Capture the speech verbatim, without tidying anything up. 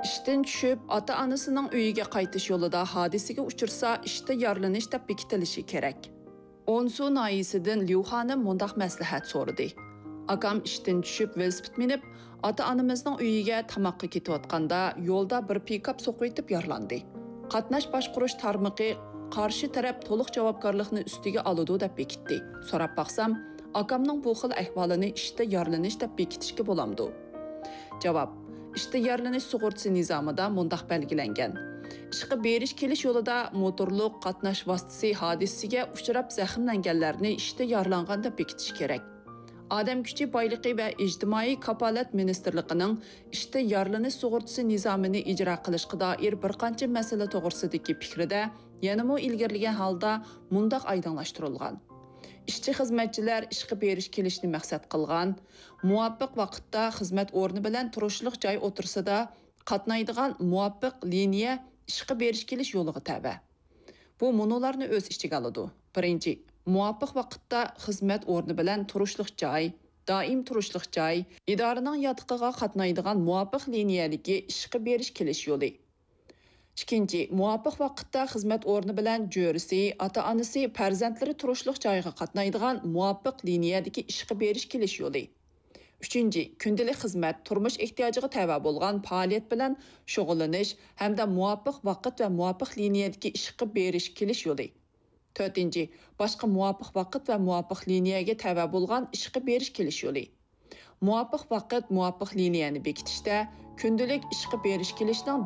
ئىشتىن چۈشۈپ، ئاتا-ئانىسىنىڭ ئۆيىگە قايتىش يولىدا ھادىسىگە ئۇچرىسا، ئىشتا يارىلىنىش دەپ بېكىتىلىشى كېرەك. ئونسۇ ناھىيەسىدىن ليۇ خانىم مۇنداق مەسلىھەت سورىدى: ئاكام ئىشتىن چۈشۈپ ۋېلىسىپىت مىنىپ، ئاتا-ئانىمىزنىڭ ئۆيىگە تاماققا كېتىۋاتقاندا، يولدا بىر پىكاپ سوقۇۋېتىپ يارىلاندى. قاتناش باشقۇرۇش تارمىقى قارشى تەرەپ تولۇق جاۋابكارلىقنى ئۈستىگە ئالىدۇ دەپ بېكىتتى. سوراپ باقسام، ئاكامنىڭ بۇ خىل ئەھۋالىنى ئىشتا يارىلىنىش دەپ بېكىتىشكە بولامدۇ؟ جاۋاب: ئىشتا يارىلىنىش سۇغۇرتىسى نىزامىدا مۇنداق بەلگىلەنگەن: ئىشقا بېرىش-كېلىش يولىدا موتورلۇق قاتناش ۋاسىتىسى ھادىسىسىگە ئۇچراپ زەخىملەنگەنلەرنى ئىشتا يارىلانغان دەپ بېكىتىش كېرەك. ئادەم كۈچى بايلىقى ۋە ئىجتىمائىي كاپالەت مىنىستىرلىقىنىڭ ئىشتا يارىلىنىش سۇغۇرتىسى نىزامىنى ئىجرا قىلىشقا دائىر بىر قانچە مەسىلە توغرىسىدىكى پىكرىدە يەنىمۇ ئىلگىرىلىگەن ھالدا مۇنداق ئايدىڭلاشتۇرۇلغان: ئىشچى-خىزمەتچىلەر ئىشقا بېرىش-كېلىشنى مەقسەت قىلغان، مۇۋاپىق ۋاقىتتا خىزمەت ئورنى بىلەن تۇرۇشلۇق جاي ئوتتۇرىسىدا قاتنايدىغان مۇۋاپىق لىنىيە ئىشقا بېرىش-كېلىش يولىغا تەۋە. بۇ مۇنۇلارنى ئۆز ئىچىگە ئالىدۇ. بىرىنچى، مۇۋاپىق ۋاقىتتا خىزمەت ئورنى بىلەن تۇرۇشلۇق جاي، دائىم تۇرۇشلۇق جاي، ئىدارىنىڭ ياتىقىغا قاتنايدىغان مۇۋاپىق لىنىيەدىكى ئىشقا بېرىش-كېلىش يولى. ئىككىنچى، مۇۋاپىق ۋاقىتتا خىزمەت ئورنى بىلەن جۆرىسى، ئاتا-ئانىسى، پەرزەنتلىرى تۇرۇشلۇق جايغا قاتنايدىغان مۇۋاپىق لىنىيەدىكى ئىشقا بېرىش-كېلىش يولى. ئۈچىنچى، كۈندىلىك خىزمەت، تۇرمۇش ئېھتىياجىغا تەۋە بولغان پائالىيەت بىلەن شۇغۇللىنىش ھەمدە مۇۋاپىق ۋاقىت ۋە مۇۋاپىق لىنىيەدىكى ئىشقا بېرىش-كېلىش يولى. تۆتىنچى، باشقا مۇۋاپىق ۋاقىت ۋە مۇۋاپىق لىنىيەگە تەۋە بولغان ئىشقا بېرىش-كېلىش يولى. مۇۋاپىق ۋاقىت، مۇۋاپىق لىنىيەنى بېكىتىشتە كۈندىلىك ئىشقا بېرىش-كېلىشنىڭ